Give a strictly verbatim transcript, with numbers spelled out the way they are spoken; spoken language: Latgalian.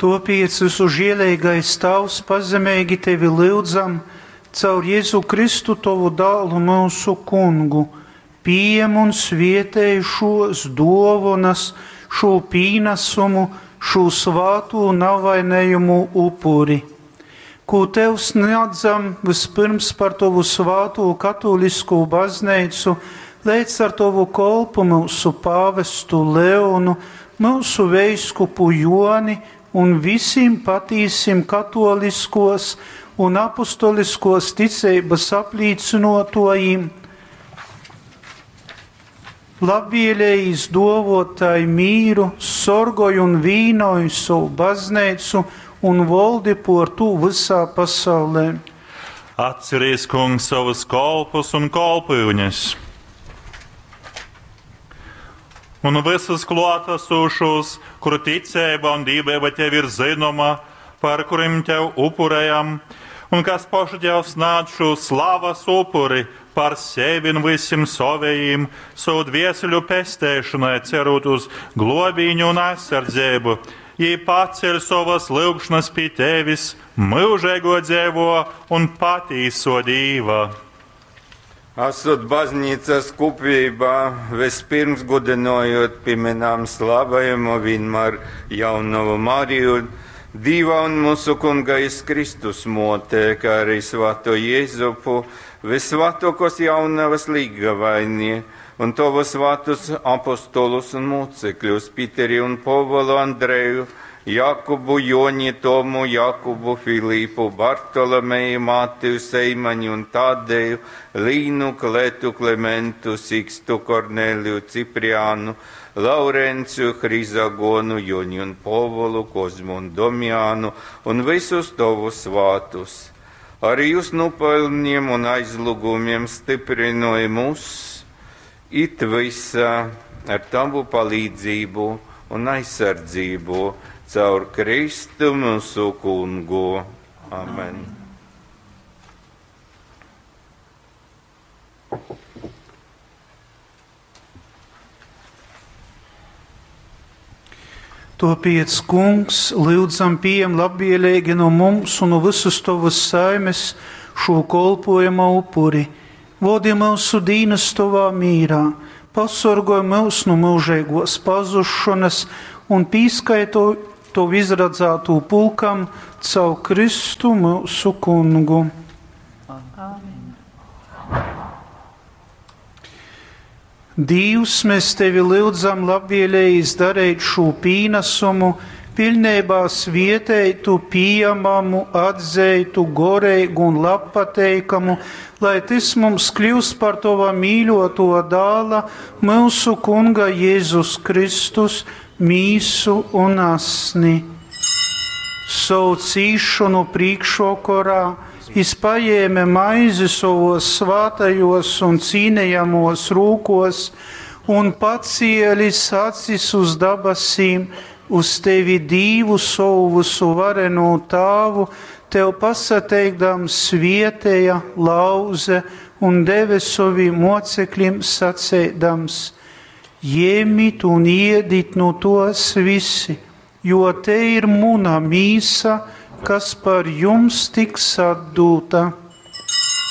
Tuopiec, vysužieleigais Tāvs, pazemeigi Tevi lyudzam, caur Jezu Kristu, Tovu Dālu, myusu Kungu, pījem un svietej šuos duovonas, šū pīnasumu, šū svātū navainejamū upuri, kū Tev snādzam vyspyrms par Tovu svātū katōliskū Bazneicu, leidz ar Tovu kolpu myusu pāvestu Leonu, myusu veiskupu Juoni un vysim patīsim katōliskuos un apostoliskuos ticeibys aplīcynuotuojim. Labvielejīs duovuot tai mīru, sorgoj un vīnoj sovu Bazneicu un voldi puor tū vysā pasaulē. Atcerīs, Kungs, savus kolpus un kolpyunes un visus klātesošos, kuru ticība un dīvība tev ir zināma, par kuriem tev upurējam, un kas paši tev snādz šo slavas upuri par sevi un visiem savējiem, savu dvieseļu pestēšanai, cerot uz globīņu un aizsardzību. Jī paceļ savas lyugšanas pie tevis, mūžīgo dzīvo un patīso Dīva. Esot baznīcas kopībā, vispirms godinojot pieminām slavējumu vienmēr jaunavu Mariju, Dīva un mūsu Kunga Jēzus Kristus mote, kā arī svēto Jēzupu, visvētākos jaunavas līgavaini un tavu svētus apostolus un mocekļus, Piteri un Povelu Andreju, Jakubu, Joni, Tomu, Jakubu, Filipu, Bartolomeju, Mateju, Seimaņu un Tadēju, Līnu, Kletu, Klementu, Sikstu, Korneliju, Cipriānu, Laurenciju, Hrizagonu, Joni un Povolu, Kozmu un Domjānu un visus tavus svātus. Arī jūs nopelniem un aizlūgumiem stiprināji mūs, it visa ar tavu palīdzību un aizsardzību caur Kristu mūsu Kungu. Amen. Tuopiec, Kungs, lyudzam pījem labvieleigi nu mums un nu vysys Tovys saimis šū kolpuojuma upuri. Vodi myusu dīnys Tovā mīrā, pasorgoj myus nu myužeiguos pazusšonys un pīskaiti Tovu izradzātū pulkam caur Kristu myusu Kungu. Amen. Dīvs, mēs Tevi lyudzam labvielejīs dareit šū pīnasumu, piļneibā svieteitu, pījamamu, atzeitu, goreigu un labpateikamu, lai tys mums kļiust par Tova mīļuotuo Dāla, myusu Kunga Jezus Kristus, mīsu un asni. Sovu cīšonu prīkšvokorā jis pajēme maizi sovos svātajos un cīnejamos rūkos un pacielis acis uz dabasīm, uz Tevi Dīvu sovu vysuvarenū Tāvu, Tev pasateikdams svieteja, lauze un deve sovim mocekļim saceidams: Jemit un iedit nu tos visi, jo te ir muna mīsa, kas par jums tiks atdūta.